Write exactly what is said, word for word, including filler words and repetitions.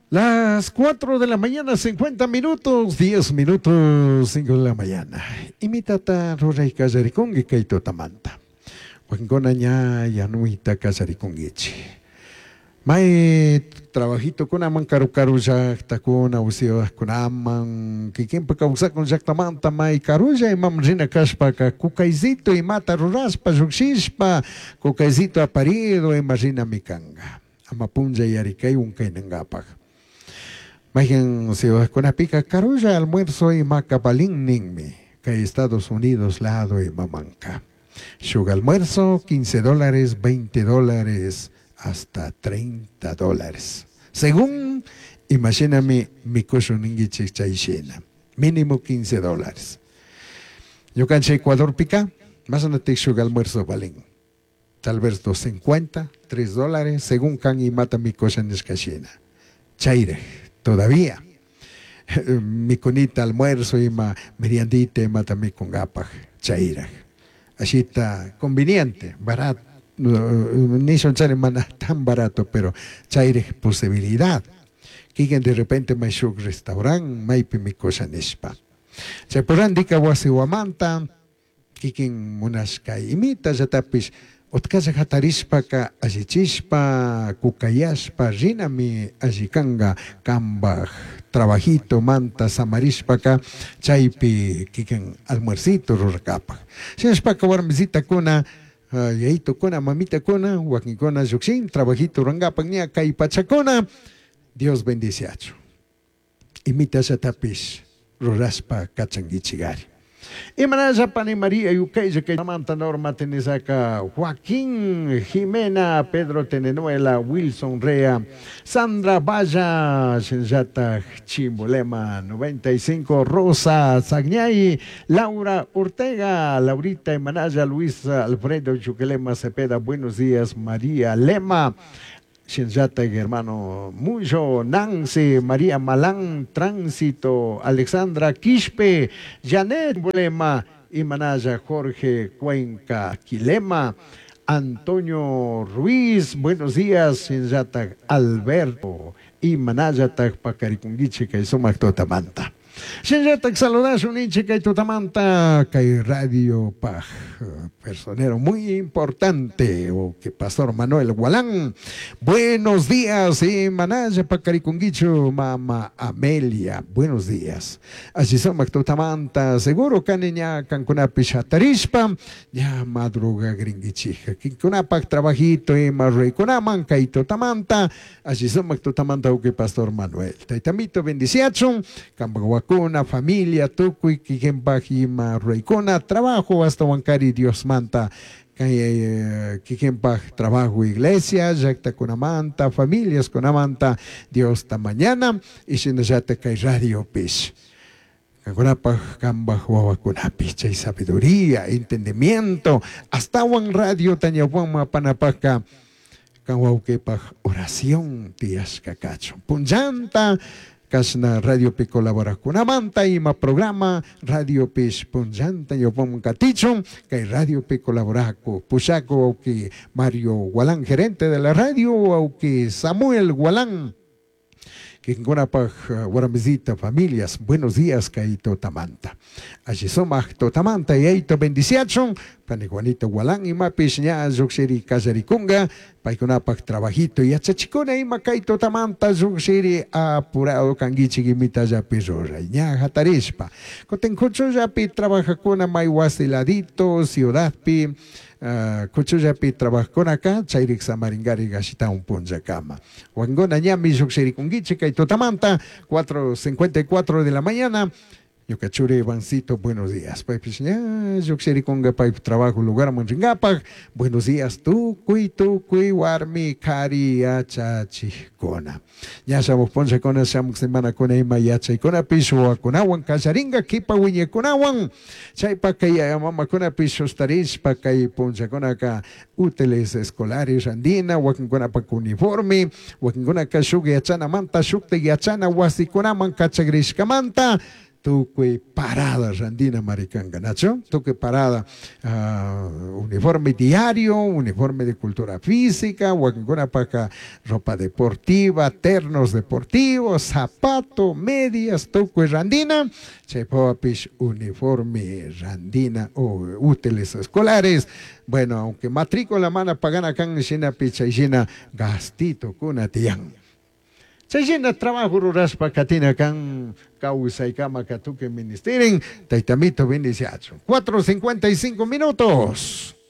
Las cuatro de la mañana, cincuenta minutos, diez minutos, cinco de la mañana. Imitata ruray kallarikunki kay tutamanta. Wakinkuna ña yanuyta kallarikunkichik. May trabajito kunaman karu karu llaqtakuna usiwaqkunaman kikinpa kawsakun llaqtamanta may karulla imam rina kashpaka kukaysito imata rurashpa lluqshishpa kukaysito aparido ima rinami kanka. Ama punlla yarikaywan kaynankapaq. Mayqin ciudadkunapika karulla almuerzo imaka valin ninmi kay Estados Unidos lado imamanka. Shuk almuerzo quince dólares, veinte dólares, hasta treinta dólares. Según, imagíname, mikushun ninkichik chay shina. Mínimo quince dólares. Ñukanchik Ecuadorpika, más anatik shuk almuerzo valin. Tal vez dos cincuenta, tres dólares, según kan imata mikusha nishka shina. Chayre, todavía. Mikunita almuerzo ima meriandita imata mikungapak, chayraj. Así está conveniente, barato. Ni son chare mana tan barato, pero chayre posibilidad. Kiken de repente may shuk restaurant, maypi mikusha nishpa. Chaypurandika wasi wamanta, kikin munashka imita yatapish, utkalla hatarishpaka allichishpa, kukayashpa, rinami allikanga kambaj trabajito manta samarishpaka, chaypi kikin almuercito rurakapaj. Shinashpaka warmisitakuna, yayitukuna, mamitakuna, wakinkuna llukshin, trabajito rurankapak ña kay pachakuna, Dios bendiciachu. Imita yatapish rurashpa kachankichikari. Imanaya Pani María Yucaya que Samantha Norma Tenesaca, Joaquín Jimena, Pedro Tenenuela, Wilson Rea, Sandra Valla, Shenyata Chimbolema, noventa y cinco, Rosa Zagnay, Laura Ortega, Laurita Imanaya, Luis Alfredo Chuquelema Cepeda, buenos días, María Lema. Shenyata, hermano Muyo, Nancy, María Malán, Tránsito, Alexandra Quispe, Janet Lema, Imanaya, Jorge Cuenca, Quilema, Antonio Ruiz, buenos días, Shenyata, Alberto, Imanaya, Pacarikunguiche, que sumak totamanta. Shenyata, saludas un hinche que totamanta, que radio paj, personero muy importante, o que Pastor Manuel Gualán. Buenos días, Imanaya, Pacarikunguicho, Mama Amelia, buenos días. Así somos totamanta, seguro que niña cancunapi shatarishpa, ya madruga gringuichija, kinkunapak trabajito, imarreicunaman, kaito tamanta, así somos totamanta, o que Pastor Manuel. Taitamito bendiciachun, cambaguacuna, familia, tucuy, kikenpaj, ima reicuna, trabajo hasta Huancari, Dios manta. Kikenpaj trabajo iglesia, llaqta kunamanta, familias kunamanta, Dios ta mañana, y shinallata kay radio pish. Kankunapaj kambaj wawakunapi, chay sabiduría, entendimiento, hasta wan radio tañapuan panapajka, kan wawqipaj oración tiyashka kachun. Punllanta, Kashna Radio Pi colaborakunamanta ima programa Radio Pish punllanta yopon katichun kay Radio Pi colaboraku pushaku auki Mario Gualán, gerente de la radio, auki Samuel Gualán. Kinkunapaj warmisita familias, buenos días kay totamanta. Allí somaj totamanta y eito bendiciachun, pani Juanito Gualán imapish ña lluqshiri kallarikunga, paykunapaj trabajito y yachachikuna ima kay totamanta lluqshiri apurado kankichik imitallapi ruray, ña hatarishpa. Kutin kuchullapi trabajakuna may wasi ladito, ciudadpi, Uh, kuchullapi trabajakunaka chayrik samaringari gashita un punllakama. Wankuna ñami lluqshirikunkichik kay totamanta, cuatro cincuenta y cuatro de la mañana. Ñuka churi Ivancito, buenos días. Paypish ña lluqshirikunga paypi trabajo lugar manringapaq. Buenos días, tukuy, tukuy, warmi, kari, yachachikuna. Ña shamuq punllakuna, shamuq semanakuna ima yachaykunapish wawakunawan kallaringa, kipa wiñaykunawan. Chaypa kay mamakunapish sustarishpa kay punllakunaka útiles escolares andina, wakinkunapak uniforme, wakinkunaka shuk yachanamanta, shukta yachana wasikunaman kachagrishkamanta. Tukuy parada randina mari kanka, nachu? Tukuy parada, uh, uniforme diario, uniforme de cultura física, wakinkunapaka ropa deportiva, ternos deportivos, zapato, medias, tukuy randina, chaypapish uniforme randina o útiles escolares. Bueno, aunque matrícula mana pagana kan shinapi chay shina gastito kuna tiyan. Chay shina trabajo rurashpa katina kan kawsaykama katukuy ministerin, taytamito bendiciachun. Cuatro cincuenta y cinco minutos.